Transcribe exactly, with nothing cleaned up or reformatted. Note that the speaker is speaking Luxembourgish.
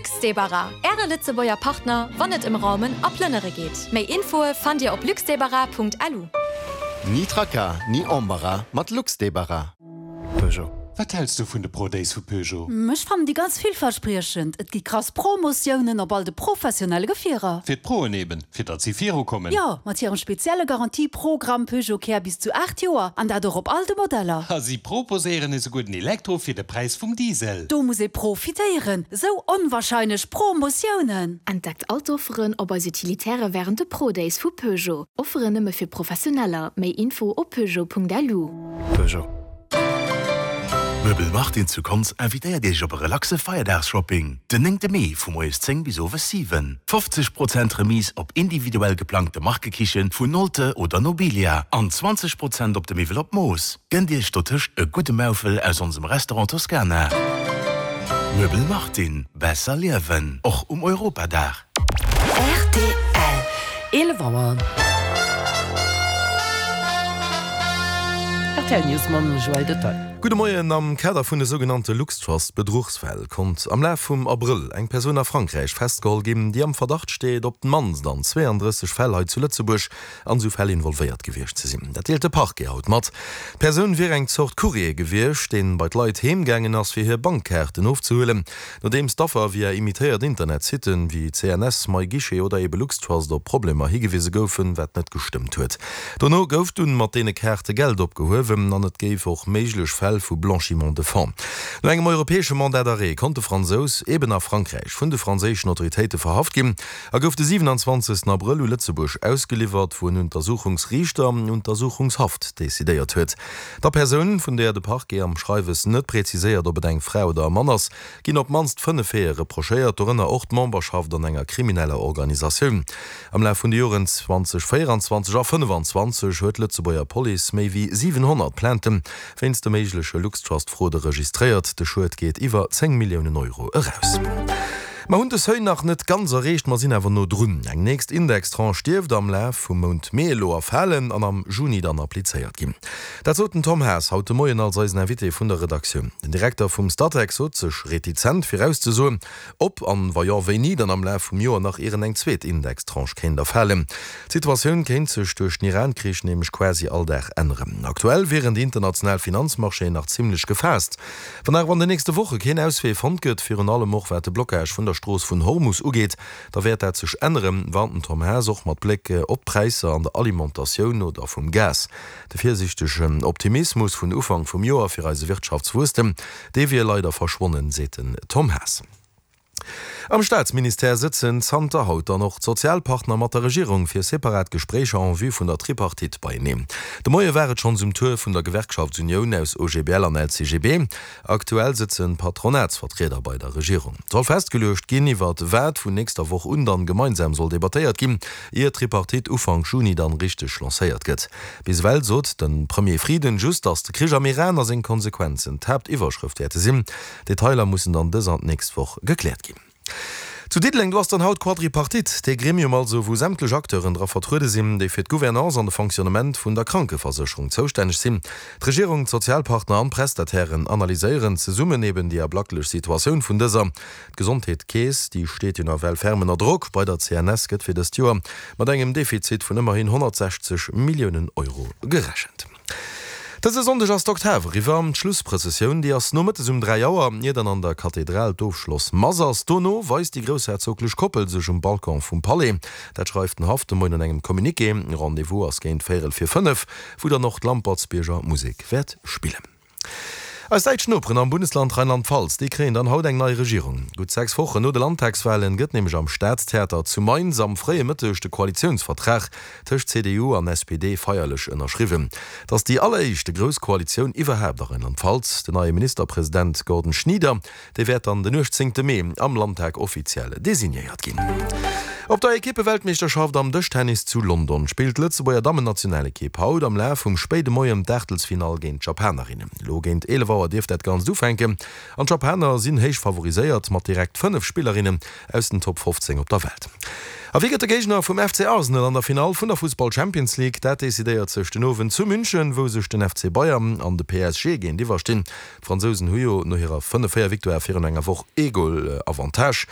Luxdebarras, Äre Lëtzebuerger Partner, wann et ëm Raumen a Plënnere geet. Méi Infoe fannt Dir op luxdebarras Punkt L U. Ni Tracas, ni Embarras mat Luxdebarras. Peugeot. Wat häls du vun de Pro Days vu Peugeot? Ech fannen déi ganz villverspriechend. Et gi krass Promotiounen op all de professionelle Gefierer. Fir d'Proen eben, fir datt si virukommen. Jo, mat hirem spezielle Garantieprogramm Peugeot Care bis zu aacht Joer an dat och op all de Modeller. A si proposéieren esouguer den Elektro fir de Präis vum Diesel. Do muss ee profitéieren. Sou onwahrscheinlech Promotiounen. Entdeckt all d'Offeren op eis Utilitäre wärend de Pro Days vu Peugeot. Offeren nëmme fir Professioneller. Méi Info op peugeot Punkt L U. Peugeot. Möbel Martin zu Konz invitéiert Iech op e relaxe Feierdagsshopping. Den néngte Mee vu moies zéng bis owes siwen. fofzeg Prozent Remise op individuell geplangte Markekichen vun Nolte oder Nobilia an zwanzeg Prozent op de Miwwel op Mooss. Gënnt Iech dotëscht e gudde Maufel aus onsem Restaurant Toscana. Möbel Martin. Besser liewen. Och um Europadag. R T L eelef Auer. R T L News mam Joël Detail. Gudde Moien, Am Kader vun de sougenannte LuxTrust-Bedruchsfäll konnt am Laf vum Abrëll eng Persoun a Frankräich festgeholl ginn, déi am Verdacht steet, op d'mannst an zweeëndrësseg Fäll hei zu Lëtzebuerg an esou Fäll involvéiert gewiescht ze sinn. Dat deelt de Parquet haut mat. D'Persoun wier eng Zort Courrier gewiescht, dee bei d'Leit heem gaangen ass, fir hir Bankkaarten ofzehuelen, nodeems d'Affer via imitéiert Internetsitten wéi C N S, MyGuichet oder ebe LuxTrust op Problemer higewise goufen, wat net gestëmmt huet. Dono gouf dunn mat deene Kaarte Geld opgehuewen an et géif och méiglech Fäll vu Blanchiment de fonds. No engem europäesche Mandat d'arrêt konnt de Fransous eben a Frankräich vun de franséischen Autoritéite verhaft ginn a gouf de siwenanzwanzegsten Abrëll u Lëtzebuerg ausgeliwwert, wou en Untersuchungsriichter Untersuchungshaft decidéiert huet. Der Persoun, vun där de Parquet am Schreiwes net präziséiert, ob et eng Fra oder e Mann ass, ginn op d'mannst fënnef Faite reprochéiert, dorënner och d'Memberschaft an enger krimineller Organisatioun. Am Laf vun de Joren zweedausendvéierenzwanzeg a fënnefenzwanzeg huet d'Lëtzebuerger Police méi wéi siwenhonnert Plaintë wéinst de méigleche LuxTrust-Fraude registréiert. De Schued geet iwwer zéng Milliounen Euro eraus. Mer hunn de Seuil nach net ganz erreecht, mer sinn awer no drun. Eng nächst Indextranche dierft am Laf vum Mount Mee elo erfalen an am Juni dann applizéiert ginn. Dat sot den Tom Haas haut de Moien als eisen Invité vun der Redaktioun. Den Direkter vum Statec sot sech retizent virauszesoen, ob an, wa jo, wéini dann am Laf vum Joer nach ieren eng zweet Indextranche kéint erfalen. D'Situatioun kéint sech duerch den Iran-Krich nämlech quasi all Dag änneren. Aktuell wieren déi international Finanzmarchéen nach zimmlech gefaasst. Wann awer an den nächste Woche keen Auswee fonnt gëtt, virun allem och wat de Blockage vun der Strooss vun Hormus ugeet, da wäert dat sech änneren, warnt den Tom Haas och mat Bléck op d'Präisser an der Alimentatioun oder vum Gas. De virsiichtegen Optimismus vun Ufank vum Joer fir eise Wirtschaftswuesstem, dee wier leider verschwonnen, seet den Tom Haas. Am Staatsministère sëtzen zanter haut dann och d'Sozialpartner mat der Regierung fir separat Gespréicher en vue vun der Tripartite beieneen. De Moie war et schonns um Tour vun der Gewerkschaftsunioun aus O G B L an L C G B. Aktuell sëtzen d'Patronatsvertrieder bei der Regierung. Et soll festgeluecht ginn, iwwert wat vun nächster Woch un dann gemeinsam soll debattéiert ginn, ier d'Tripartite Ufank Juni dann richteg lancéiert gëtt. Bis ewell sot de Premier Frieden just, datt de Krich am Iran a seng Konsequenzen d'Haaptiwwerschrëft wäerte sinn. Detailer mussen dann dës an d'nächst Woch gekläert ginn. Zu Diddeleng, do ass dann haut Quadripartite, dee Gremium also, wou sämtlech Acteuren dra vertruede sinn, déi fir d'Gouvernance an de Fonctionnement vun der Krankeversécherung zoustänneg sinn. D'Regierung, d'Sozialpartner an d'Prestatairen analyséieren zesummen eben déi ablacklech Situatioun vun dëser. D'Gesondheetskeess, déi steet jo nawell ferm ënner Drock. Bei der C N S gëtt fir dëst Joer mat engem Defizit vun ëmmerhin honnertsechzeg Milliounen Euro gerechent. Dëse Sonndeg ass d'Oktav eriwwer. D'Schlussprëssessioun, déi ass nomëttes um dräi Auer, ier dann an der Kathedral d'Ofschlossmass ass. Dono weist déi groussherzoglech Koppel sech um Balcon vum Palais. Dat schreift den Haff de Moien an engem Communiqué. Rendez-vous ass géint véierel vir fënnef, wou dann och d'Lampertsbierger Musek wäert spillen. Eis däitsch Noperen am Bundesland Rheinland-Pfalz, déi kréien dann haut eng nei Regierung. Gutt sechs Wochen no de Landtagswalen gëtt nämlech am Staatstheater zu Mainz am fréie Mëtteg de Koalitiounsvertrag tëscht C D U an S P D feierlech ënnerschriwwen. Et ass déi alleréischte grouss Koalitioun iwwerhaapt a Rheinland-Pfalz. Den neie Ministerpresident Gordon Schnieder, dee wäert dann den uechtzéngte Mee am Landtag offiziell designéiert ginn. Op der Ekippeweltmeeschterschaft am Dëschtennis zu London spillt d'Lëtzebuerger Dammennationalekipp haut am Laf vum spéide Moien d'Aachtelsfinall géint d'Japanerinnen. Elo géint eelef Auer dierft dat Ganzt ufänken an d'Japaner sinn héich favoriséiert mat direkt fënnef Spillerinnen aus den Top fofzéng op der Welt. A wie gëtt de Géigner vum F C Arsenal an der Finall vun der Fussball Champions League? Dat decidéiert sech den Owend zu München, wou sech den F C Bayern an de P S G géintiwwer stinn. D'Fransousen hu jo no hirer fënnef véier Victoire virun enger Woch ee Goal Avantage.